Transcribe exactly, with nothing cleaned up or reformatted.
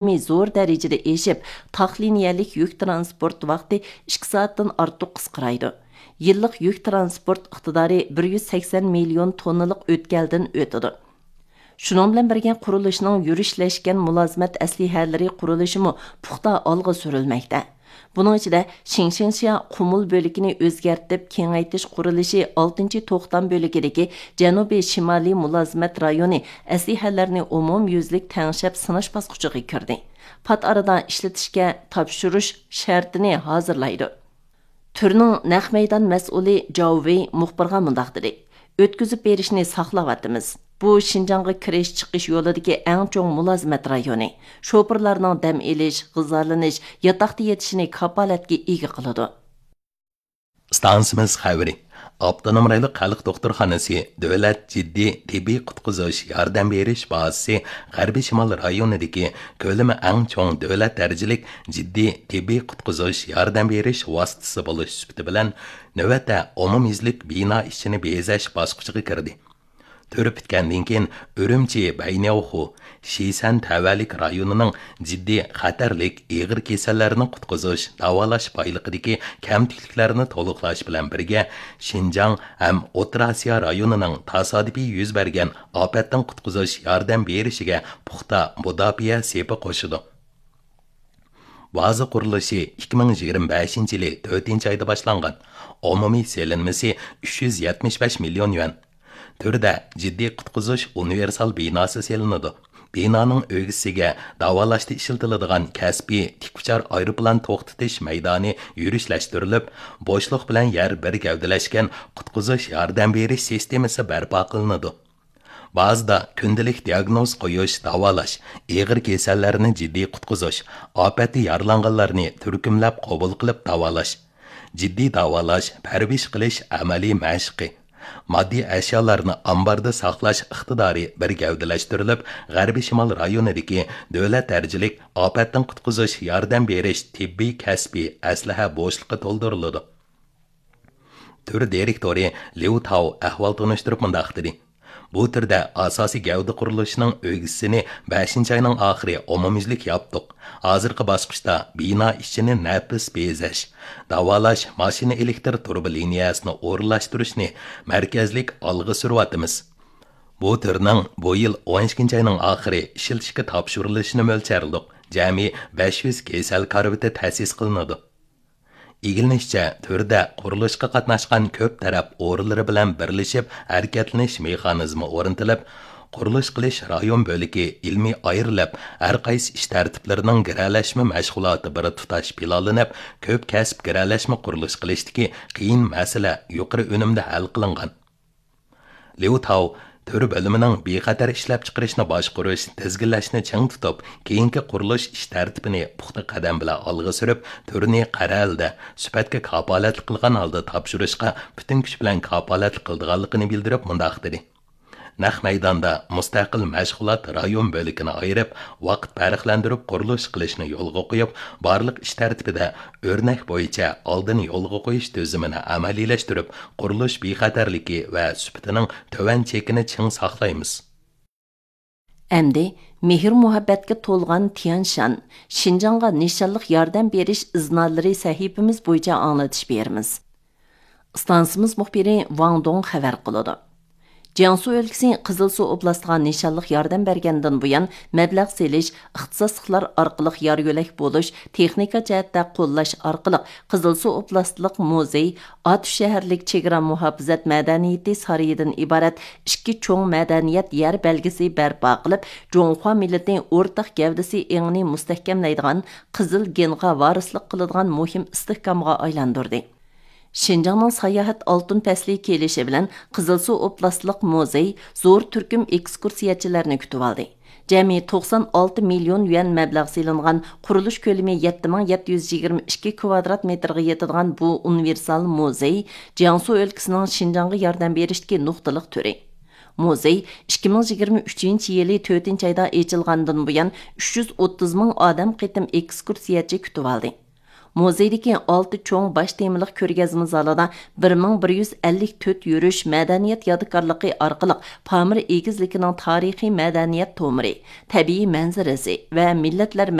كۆلىمى زور دەرىجىدە ئېشىپ، تاق لىنىيەلىك يۈك تىرانسپورت ۋاقتى ئىككى سائەتتىن ئارتۇق قىسقىرايدۇ. يىللىق يۈك تىرانسپورت ئىقتىدارى بىر يۈز سەكسەن مىليون توننىلىق ئۆتكەلدىن ئۆتىدۇ. شۇنىڭ بىلەن بىرگە، قۇرۇلۇشنىڭ يۈرۈشلەشكەن مۇلازىمەت ئەسلىھەلىرى قۇرۇلۇشىمۇ پۇختا ئالغا سۈرۈلمەكتە. بۇنىڭ ئىچىدە، شىڭشىڭشيا قۇمۇل بۆلىكىنى ئۆزگەرتىپ كېڭەيتىش قۇرۇلۇشى ئالتىنچى توختام بۆلىكىدىكى جەنۇبىي شىمالىي مۇلازىمەت رايونى ئەسلىھەلەرنى ئومۇميۈزلۈك تەڭشەپ سىناش باسقۇچىغا كىردى. پات ئارىدا ئىشلىتىشكە تاپشۇرۇش شەرتىنى ھازىرلايدۇ. تۈرنىڭ نەق مەيدان مەسئۇلى جاۋ ۋېي مۇخبىرغا مۇنداق دېدى: «ئۆتكۈزۈپ بېرىشنى ساقلاۋاتىمىز. بۇ شىنجاڭغا كىرىش چىقىش يولىدىكى ئەڭ چوڭ مۇلازىمەت رايونى. شوپۇرلارنىڭ دەم ئېلىش، غىزالىنىش، ياتاقتا يېتىشىنى كاپالەتكە ئىگە قىلىدۇ.» ئىستانسىمىز خەۋىرى. ئاپتونوم رايونلۇق خەلق دوختۇرخانىسى دۆلەت جىددىي تېببىي قۇتقۇزۇش ياردەم بېرىش بازىسى غەربىي شىمال رايونىدىكى كۆلىمى ئەڭ چوڭ دۆلەت دەرىجىلىك جىددىي تېببىي قۇتقۇزۇش ياردەم بېرىش ۋاسىتىسى بولۇش سۈپىتى بىلەن، نۆۋەتتە ئومۇميۈزلۈك بىنا ئىچىنى بېزەش باسقۇچىغا كىردى. تۈر پۈتكەندىن كېيىن، ئۈرۈمچى بەينياۋخۇ، شىسەن تەۋەلىك رايونىنىڭ جىددىي خەتەرلىك ئېغىر كېسەللەرنى قۇتقۇزۇش، داۋالاش بايلىقىدىكى كەمتۈكلۈكلەرنى تولۇقلاش بىلەن بىرگە، شىنجاڭ ھەم ئوتتۇرا ئاسىيا رايونىنىڭ تاسادىپىي يۈز بەرگەن ئاپەتتىن قۇتقۇزۇش ياردەم بېرىشىگە پۇختا مۇداپىئە سېپى قوشىدۇ. بازا قۇرۇلۇشى ئىككى مىڭ يىگىرمە بەشىنچى يىلى تۆتىنچى ئايدا باشلانغان. ئومۇمىي سېلىنمىسى ئۈچ يۈز يەتمىش بەش مىليون يۈەن. تۈردە جىددىي قۇتقۇزۇش ئۇنىۋېرسال بىناسى سېلىنىدۇ. بىنانىڭ ئۆگزىسىگە داۋالاشتا ئىشلىتىلىدىغان كەسپىي تىك ئۇچار ئايروپىلان توختىتىش مەيدانى يۈرۈشلەشتۈرۈلۈپ، بوشلۇق بىلەن يەر بىر گەۋدىلەشكەن قۇتقۇزۇش ياردەم بېرىش سىستېمىسى بەرپا قىلىنىدۇ. بازىدا كۈندىلىك دىئاگنوز قويۇش، داۋالاش، ئېغىر كېسەللەرنى جىددىي قۇتقۇزۇش، ئاپەتتە يارىلانغانلارنى تۈركۈملەپ قوبۇل قىلىپ داۋالاش، جىددىي داۋالاش، پەرۋىش قىلىش ئەمەلىي مەشقى، ماددىي ئەشيالارنى ئامباردا ساقلاش ئىقتىدارى بىر گەۋدىلەشتۈرۈلۈپ، غەربىي شىمال رايونىدىكى دۆلەت دەرىجىلىك ئاپەتتىن قۇتقۇزۇش ياردەم بېرىش تېببىي كەسپىي ئەسلىھە بوشلۇقى تولدۇرۇلىدۇ. تۈر دىرېكتورى ليۇ تاۋ ئەھۋال تونۇشتۇرۇپ مۇنداق دېدى: «بۇ تۈردە ئاساسىي گەۋدە قۇرۇلۇشىنىڭ ئۆگزىسىنى بەشىنچى ئاينىڭ ئاخىرى ئومۇميۈزلۈك ياپتۇق. ھازىرقى باسقۇچتا بىنا ئىچىنى نەپىس بېزەش، داۋالاش، ماشىنا ئېلېكتر تۇرۇبا لىنىيەسىنى ئورۇنلاشتۇرۇشنى مەركەزلىك ئالغا سۈرۈۋاتىمىز. بۇ تۈرنىڭ بۇ يىل ئون ئىككىنچى ئاينىڭ ئاخىرى ئىشلىتىشكە تاپشۇرۇلۇشىنى مۆلچەرلىدۇق. جەمئىي بەش يۈز كېسەل كارىۋىتى تەسىس قىلىنىدۇ.» ئىگىلىنىشىچە، تۈردە قۇرۇلۇشقا قاتناشقان كۆپ تەرەپ ئورۇنلىرى بىلەن بىرلىشىپ ھەرىكەتلىنىش مېخانىزمى ئورنىتىلىپ، قۇرۇلۇش قىلىش رايون بۆلىكى ئىلمىي ئايرىلىپ، ھەر قايسى ئىش تەرتىپلىرىنىڭ گىرەلەشمە مەشغۇلاتى بىر تۇتاش پىلانلىنىپ، كۆپ كەسىپ گىرەلەشمە قۇرۇلۇش قىلىشتىكى قىيىن مەسىلە يۇقىرى ئۈنۈمدە ھەل قىلىنغان. ليۇ تاۋ تۈر بۆلۈمىنىڭ بىخەتەر ئىشلەپچىقىرىشنى باشقۇرۇش، تىزگىنلەشنى چىڭ تۇتۇپ، كېيىنكى قۇرۇلۇش ئىش تەرتىپىنى پۇختا قەدەم بىلەن ئالغا سۈرۈپ، تۈرنى قەرەلدە، سۈپەتكە كاپالەتلىك قىلغان ھالدا تاپشۇرۇشقا پۈتۈن كۈچ بىلەن كاپالەتلىك قىلىدىغانلىقىنى بىلدۈرۈپ مۇنداق دېدى: «نەق مەيداندا مۇستەقىل مەشغۇلات رايون بۆلىكىنى ئايرىپ، ۋاقىت پەرقلەندۈرۈپ قۇرۇلۇش قىلىشنى يولغا قويۇپ، بارلىق ئىش تەرتىپىدە ئۆرنەك بويىچە ئالدىن يولغا قويۇش تۈزۈمىنى ئەمەلىيلەشتۈرۈپ، قۇرۇلۇش بىخەتەرلىكى ۋە سۈپىتىنىڭ تۆۋەن چېكىنى چىڭ ساقلايمىز.» ئەمدى مېھىر-مۇھەببەتكە تولغان تيەنشان، شىنجاڭغا نىشانلىق ياردەم بېرىش ئىزنالىرى سەھىپىمىز بويىچە ئاڭلىتىش بېرىمىز. ئىستانسىمىز مۇخبىرى ۋاڭ دۇڭ خەۋەر قىلىدۇ. جياڭسۇ ئۆلكىسى قىزىلسۇ ئوبلاستىغا نىشانلىق ياردەم بەرگەندىن بۇيان، مەبلەغ سېلىش، ئىختىساسلىقلار ئارقىلىق يار يۆلەك بولۇش، تېخنىكا جەھەتتە قوللاش ئارقىلىق قىزىلسۇ ئوبلاستلىق مۇزېي، ئاتۇش شەھەرلىك چېگرا مۇھاپىزەت مەدەنىيىتى سارىيىدىن ئىبارەت ئىككى چوڭ مەدەنىيەت يەر بەلگىسى بەرپا قىلىپ، جۇڭخۇا مىللىتى ئورتاق گەۋدىسى ئېڭىنى مۇستەھكەملەيدىغان قىزىل گېنغا ۋارىسلىق قىلىدىغان مۇھىم ئىستىھكامغا ئايلاندۇردى. شىنجاڭنىڭ ساياھەت ئالتۇن پەسلى كېلىشى بىلەن قىزىلسۇ ئوبلاستلىق مۇزېي زور تۈركۈم ئېكسكۇرسىيەچىلەرنى كۈتۈۋالدى. جەمئىي توقسان ئالتە مىليون يۈەن مەبلەغ سېلىنغان، قۇرۇلۇش كۆلىمى يەتتە مىڭ يەتتە يۈز يىگىرمە ئىككى كۋادرات مېتىرغا يېتىدىغان بۇ ئۇنىۋېرسال مۇزېي جياڭسۇ ئۆلكىسىنىڭ شىنجاڭغا ياردەم بېرىشتىكى نۇقتىلىق تۈرى. مۇزېي ئىككى مىڭ يىگىرمە ئۈچىنچى يىلى تۆتىنچى ئايدا ئېچىلغاندىن بۇيان، ئۈچ يۈز ئوتتۇز مىڭ ئادەم قېتىم ئېكسكۇرسىيەچى كۈتۈۋالدى. مۇزېيدىكى ئالتە چوڭ باش تېمىلىق كۆرگەزمە زالىدا بىر مىڭ بىر يۈز ئەللىك تۆت يۈرۈش مەدەنىيەت يادىكارلىقى ئارقىلىق پامىر ئېگىزلىكىنىڭ تارىخىي مەدەنىيەت تومۇرى، تەبىئىي مەنزىرىسى ۋە مىللەتلەر